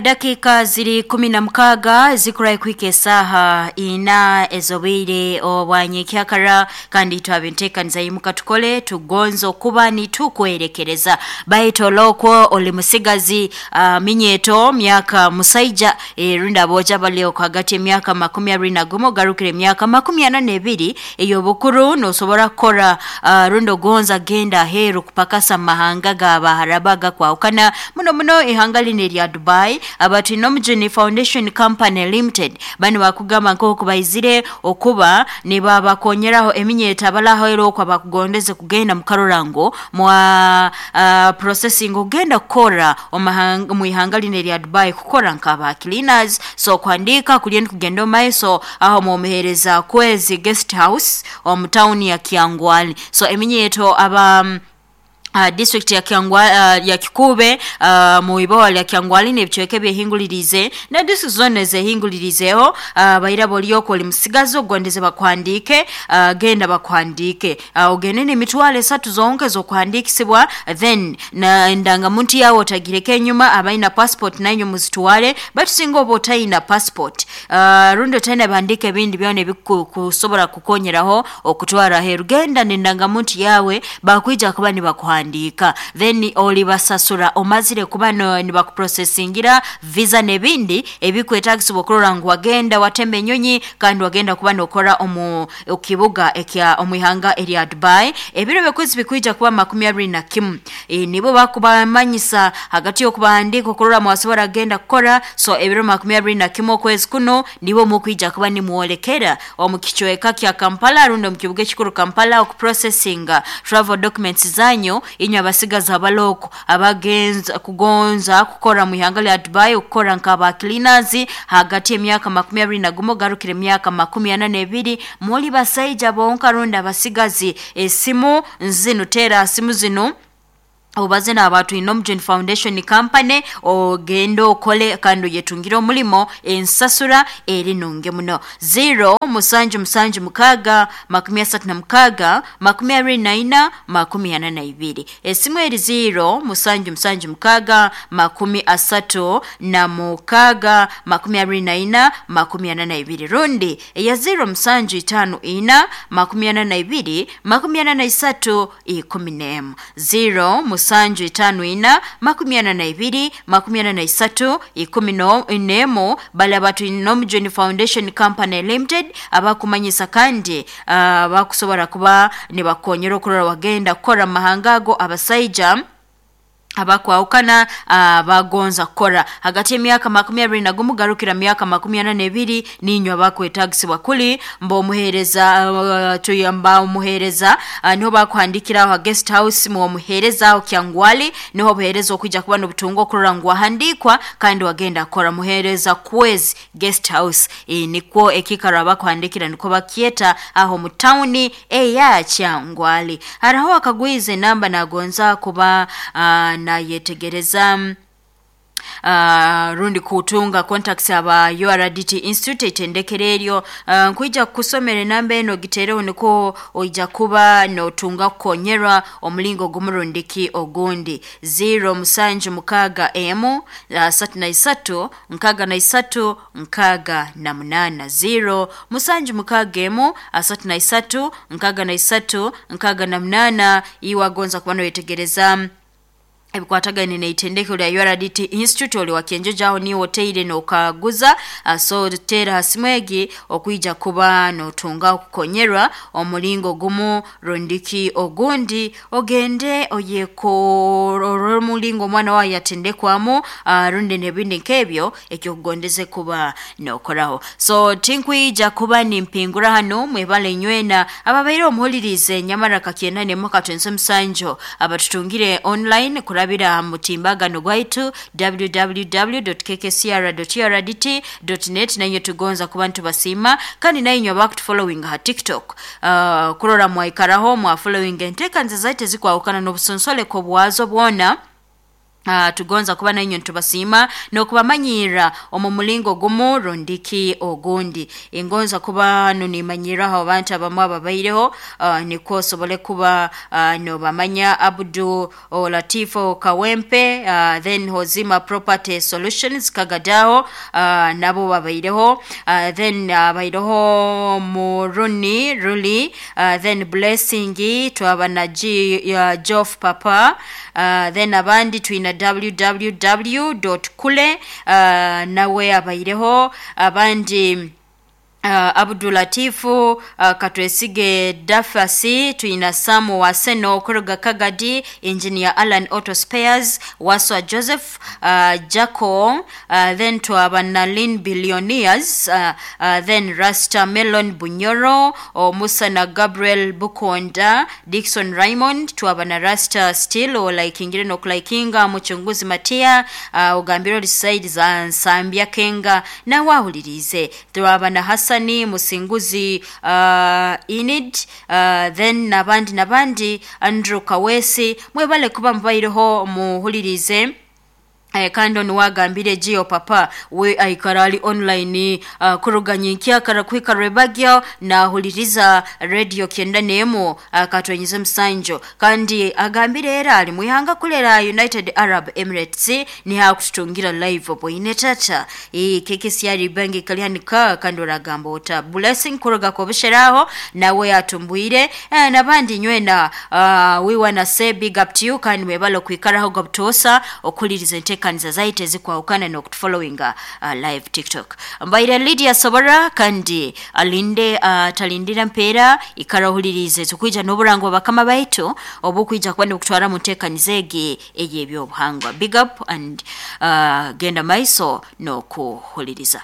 Dakika ziri 16 zikurayi kuhika esaha 4 ez'obwire obwanyekyakara, kandi twabinteekaniza yimuka tukole tugonza okuba nitukwerekereza. Baitu olokwo oli musigazi, minyeto myaka musaija, rundi abooja bali hagati y'emyaka 21 ogarukire emyaka 42 ey'obukuru, nosobora kukora, rundi ogonza genda aheeru kupakasa mu mahanga g'Abaharabu agakwahukana muno muno ihanga linu erya Dubai. Abatwine Omujuni Foundation Company Limited banu bakugamba nk'oku baizire okuba nibabakonyeraho eminyeto abalaheeru okwo abakugondeze kugenda mukarora ngu mwa processing okugenda kukora omu ihanga linu erya Dubai, kukora nk'aba cleaners. So kuhandiika kuriyo nikugenda omu maiso aho mwomuheereza Kwezi Guest House omu tawuni ya Kyangwali. So eminyeto aba district ya Kyangwa, ya Kikuube, mu iboha lya Kyangwali n'ebicweka ebyehinguliriize na district zoona ezehinguliriizeho, baira boli okwo oli musigazi ogondeze bakuhandiike, genda bakuhandiike, ogende n'emitwaro 3 zonka ez'okuhandiikisibwa, then na endangamuntu yawe otagireka enyuma. Abaina passport nainywe muzitwale, baitu singa oba otaina passport, rundi otaina bihandiiko ebindi byona ebikusobora kukonyeraho okutwara aheeru, genda n'endangamuntu yawe, bakwija kuba nibakuhandiika, then olibasasura omazire kuba nibakuprocesingira visa n'ebindi ebikwetagisibwa okurora ngu wagenda watemba enyonyi kandi wagenda kuba nokora omu kibuga ekya omu ihanga erya Dubai. Ebiro by'okwezi bikwija kuba 21. Nibo bakubamanyisa hagati y'okubahandiika okurora mwasobora kugenda kukora. So ebiro 21 okwezi kuno nibo mukwija kuba nimwolekera omu kicweka kya Kampala rundi omu kibuga ekikuru Kampala okuprocesinga travel documents zanyu, inywe abasigazi abaloko abagenza kugonza kukora mu ihanga lya Dubai, okukora nk'aba cleaners hagati y'emyaka 21 ogarukire emyaka 42. Muli basaija bonka rundi abasigazi, esimu zinu, teera simu zinu obaze n'abatwine Omujuni Foundation Company, ogende okole kandi oyetungire omulimo, ensasura eri nungi muno. 0 7 7 6 36 24 42. Esimu eri 0 7 7 6 36 24 42, rundi eya 0 7 5 4 42 43 11. 0 7 5 4 42 43 11. Bali abatwine Omujuni Foundation Company Limited abakumanyisa kandi bakusobora kuba nibakonyera okurora wagenda kukora mu mahanga ago, abasaija abakwahukana bagonza kukora hagati y'emyaka 21 garukira myaka 42, ninywe abakwetagisibwa kuli mba omuheereza, tuyamba omuheereza, niho bakuhandikiraho ha guest house mwomuheereza aho Kyangwali, niho obuheereza okwija kuba n'obutunga okurora ngu wahandiikwa kandi wagenda kukora. Muheereza Kwezi Guest House, nikwo ekiikaro abakuhandikira nikwo bakyeta aho mu tawuni eya Kyangwali. Haraho akagwiza enamba nagonza kuba nayetegereza, rundi kutunga contacts aba URDT Institute etendekero eryo, nkwija kukusomera enamba eno, gitereho nikwo oija kuba notunga kukonyerwa omulingo gumurundiki ogundi. 0 7 6 emu 33 63 68. 0 7 6 emu 33 63 68. Iwe agonza kuba noyetegereza ebikwatagaine n'eitendekero lya URDT Institute, oli wakenjeje aho niwe oteire n'okaguza, so teera ha simu egi okwija kuba notunga okukonyerwa omulingo gumu rundiki ogundi, ogende oyekorora omulingo omwana wawe yatendekwamu, rundi n'ebindi nk'ebyo ekyokugondeze kuba nokoraho. So tinkwija kuba nimpingura hanu. Mwebale inywena ababaire omuhulirize nyamara kakyenda nemu katwense musanju, abatutungire online kurabira mutimbagano gwaitu www.kkcr.urdt.net, nainywe tugonza kuba nitubasiima. Kandi nainywe abakutufollowing ha TikTok, kurora mwaikaraho mwa following enteekaniza zaitu ezikwahukana n'obusonsoleko bwazo bwona. Tugonza kuba nainywe ntubasiima n'okubamanyirra omu mulingo gumu rundiki ogundi. Ingonza kuba nunimanyirraho abantu abamu ababaireho, nikwo osobole kuba nobamanya. Abdu Latifo Kawempe, then Hozima Property Solutions Kagadaho, nabo babaireho, then abaireho Muruni Ruli, then Blessing, twaba na G, Joff Papa, then abandi twina www.kule, nawe abaireho abandi, Abdulatifu, Katwesige Dafasi, twina Samu Waseno kuruga Kagadi, Engineer Alan Auto Spares, Waswa Joseph, Jaco, then twaba na Lin Billionaires, then Rasta Melon Bunyoro, Musa na Gabriel Bukonda, Dixon Raymond, twaba na Rasta Steel olaikingire n'okulaikinga Muchunguzi Matia, ogambire ori side za Nsambya Kenga nawe ahulirize, twaba na Hassani Musinguzi, Inid, then nabandi nabandi Andrew Kawesi, mwebale kuba mubaireho muhulirize. Kandi onu wagambire Gio Papa we aikara ali online, kuruga nyenkyakara kuhika rwebagyo nahuliriza radio 91, katwenyize musanjo, kandi agambire era ali mwihanga kulera United Arab Emirates nihakututungira live bwine tata keke syari bangi kalyanika. Kandi oragamba ota Blessing kuruga kobusheraho nawe atumbwire, nabandi nywena, we wanna say big up to you, kandi mwebale kwikaraho gobtosa okuliriza enteekaniza zaitu ezikwahukana n'okutufollowinga live TikTok. Mbaire Lydia Sobora, kandi alinde, talindira mpeera ikara ohulirize tukwija n'oburango bakama baitu obukwija kuba nibukutwara mu nteekaniza egi ey'ebyobuhangwa. Big up and genda maiso n'okuhuliriza.